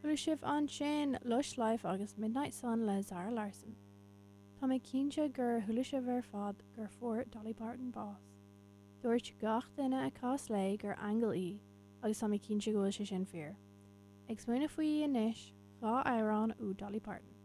Chuala sibh ansin Lush Life agus Midnight Sun le Zara Larsson. Tá mé cinnte gur chuala sibh ar fad gur fuair Dolly Parton bás. Dúirt gach duine a chas léi gur aingeal í agus tá mé cinnte go bhfuil sé sin fíor. Ag smaoineamh faoi anois, 2 amhrán ó Dolly Parton.